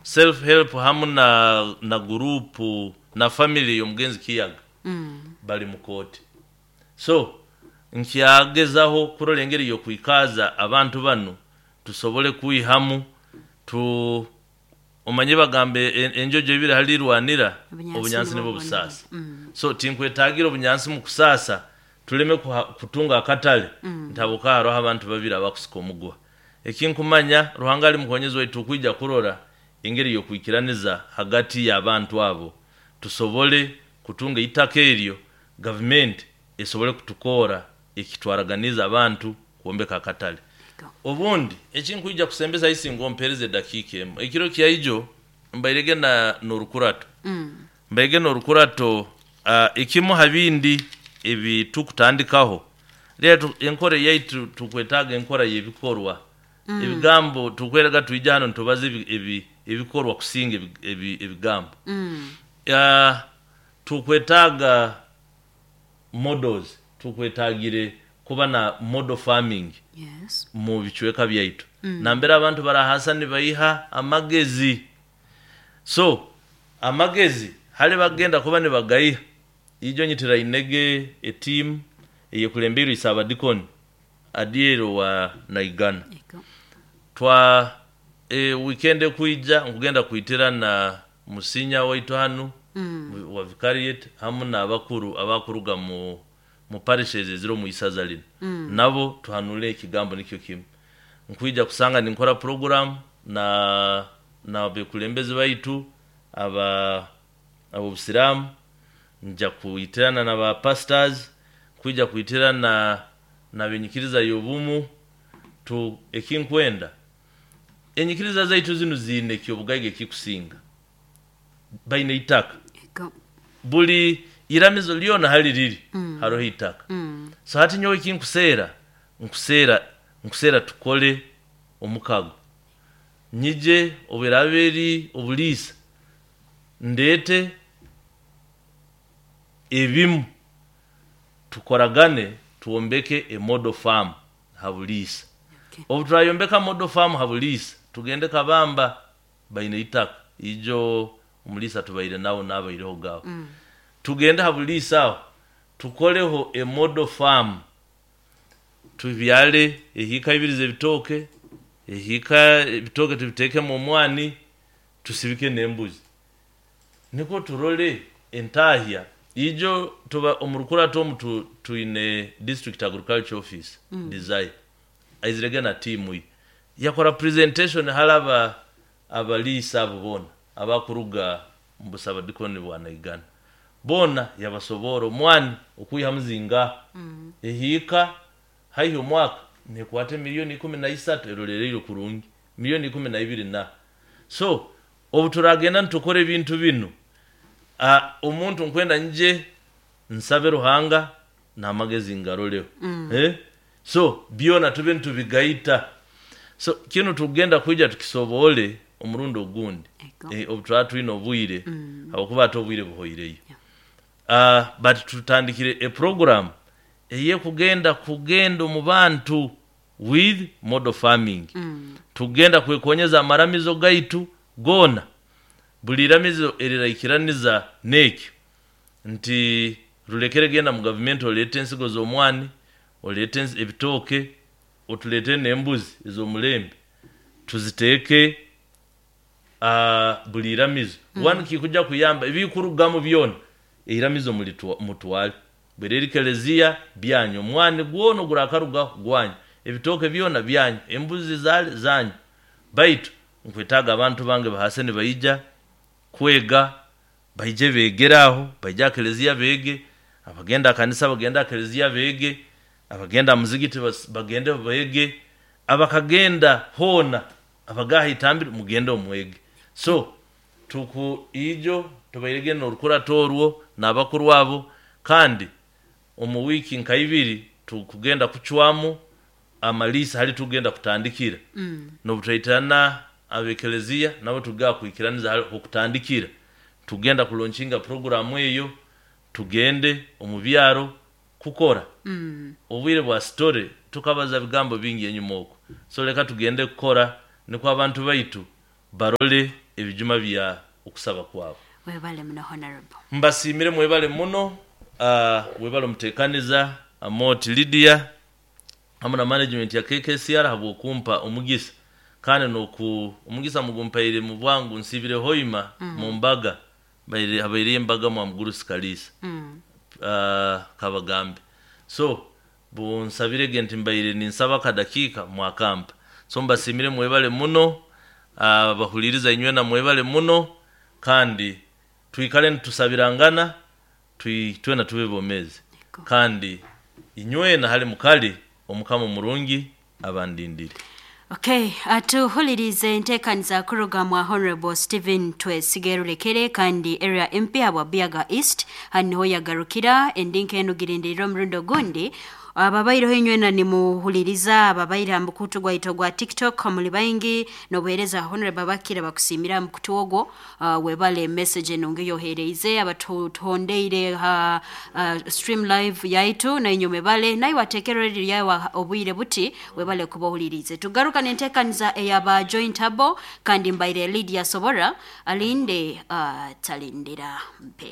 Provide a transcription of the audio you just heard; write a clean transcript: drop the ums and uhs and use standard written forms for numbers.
Self help hamu na gurupu na family y'omugenzi Kiyaga bali mu kooti. So nkyagezaho kurora engeri y'okwikaaza abantu banu tusobole kwihamu tu omanye bagamba enjojo ibiri hali irwanira, obunyansi nibwo busaasa. So tinkwetaagira obunyansi mu kusaasa tuleme kutunga akatale nti habwokuba haroho abantu babiri abakusika omuguha. Ekinkumanya Ruhanga ali mukonyezi waitu, tukwija kurora engeri y'okwikiraniza hagati y'abantu abo tusobole kutunga eitaka eryo, gavumenti esobole kutukoora ekitwaraganiize abantu kwombeka akatale. Obundi ekinkwija kusembesa isinga ompeereze edakiika emu. Ekiro kyaijo mbairege na n'orukurato. Mbairege n'orukurato ekimu ha bindi ebi tukutandikaho, reero enkora eyaitu tukwetaaga enkora y'ebikorwa. Ebigambo tukwerega twija hanu nitubaza ebikorwa kusinga ebigambo. Tukwetaaga models, tukwetaagire kuba na model farming mu bicweka byaitu nambere abantu barahaasa nibaiha amagezi. So amagezi hali bagenda kuba nibagaiha, ijo nyitirainege etiimu eyekulembeirwe Isaabadikoni Adiel owa Naigana. Twa weekend ekwija nkugenda kwitirana Musinya waitu hanu wa Vicariate hamu n'abakuru abakuruga mu parishes eziri omu isaza linu, nabo tuhanule ekigambo nikyo kimu. Nkwija kusanga ninkora puroguramu na n'abekulembezi baitu aba ab'obusiraamu, nja kwitirana na ba pastors, nkwija kwitirana n'abenyikiriza y'obumu, tu ekinkwenda enyikiriza zaitu zinu ziine eky'obugaiga ekikusinga. Baine eitaka. Buli iramizo lyona hali riri haroho eitaka. So hati nyowe ekinkuseera, nkuseera nkuseera tukole omukago. Nyije obu eraaba eri obuliisa, ndeete ebimu tukoragane twombeke e model farm ha buliisa. Obu turayombeka model farm ha buliisa, tugende Kabamba baine eitaka, ijo omuliisa tubaire nawe naabairehoga aho. Tugende ha buliisa aho tukoleho e model farm, tubyale ehiika ibiri z'ebitooke, ehiika ebitooke tubiteekemu omwani, tusibike n'embuzi. Nikwo turole entaahya. Ijo tuba omu rukurato omu twine District Agriculture Office, Desire aizirege na tiimu ye yakora presentation hali aba abaliisa abo boona abakuruga omu busabadikoni bwa Naigana boona yabasoboora omwani okwihamu zingaha ehiika haihi omwaka nekwata emiliyoni 13 erolereirwe kurungi miliyoni 12 na so obu turagenda nitukora ebintu binu, omuntu nkwenda nyije nsabe Ruhanga n'amagezi ngaroleho. So byona tube nitubigaita. So kinu tukugenda kwija tukisoboole omurundi ogundi obu turaba twine obwire habwokuba hati obwire buhoireyo. But tutandikire epuroguramu ey'ekugenda kugenda omu bantu with model farming. Tukugenda kwekonyeza amaramizo gaitu goona. Buli iramizo eriraikiraniza n'ekyo nti rulekere genda mu gavumenti oleete ensigo z'omwani, oleete ebitooke, otuleetere n'embuzi ez'omulembe tuziteeke buli iramizo. One kikuja kuyamba ebikurugamu byona eiramizo mutwale. Bwera eri kelezia byanyu, omwani gwona ogurakarugaho gwanyu, ebitooke byona byanyu, embuzi zaali zanyu. Baitu nkwetaaga abantu bange bahaase nibaija kwega, baije beegere aho, baije aha kelezia beege, abagenda aha kanisa bagende aha kelezia beege, abagenda aha muzigiti bagende beege, abakagenda hoona abaga aha itambiro mugende omwege. So tuku ijo tubairege n'orukurato orwo n'abakuru abo kandi omu wiiki nka ibiri tukugenda kucwamu amaliisa hali tukugenda kutandikira. N'obu turaitirana ab'ekelezia nabo tuga kwikiraniza hali h'okutandikira. Tugenda kulonkinga puroguramu eyo tugende omu byaro kukora. Obwire bwa sitore tukabaza bigambo bingi enyuma okwo. So leka tugende kukora nikwo abantu baitu barole. Ebijuma bya okusaba kwabo. Webale muno, honorable. Mbasiimire, mwebale muno. Webale omuteekaniza Amoti Lydia hamu na management ya KKCR habw'okumpa omugisa, kandi noku omugisa mugumpaire mu bwangu. Nsibire Hoima mu mbaga, habaireyo embaga mwa Mugurusi Kaliisa, kabagambe. So bunsabirege nti mbaire ninsaba akadakiika, mwakampa. So mbasiimire, mwebale muno. Bahuliriza inywena, mwebale muno, kandi twikale nitusabirangana, twena tube bomezi. Kandi inywena hali mukali omukama omurungi abandindire. Okay, atuhulirize enteekaniza kuruga mwa Honorable Stephen Twesige Rulekere, kandi area MP habwa Buyaga East. Hanu niho yagarukira endinka enu, girindirira omurundi ogundi. Ababaireho inywena nimuhuliriza, ababaire ha mukutu gwaitu gwa TikTok, muli baingi nobuhereza honorable bakira bakusimira ha mukutu ogwo. Webale message enungi yohereize. Abatuhondeire ha stream live yaitu, nainywe mwebale. Naye wateekera ryawe obwire buti, webale kuba ohulirize. Tugaruka nenteekaniza eyaba joint abo, kandi mbaire Lydia Sobora alinde, talindira mpe.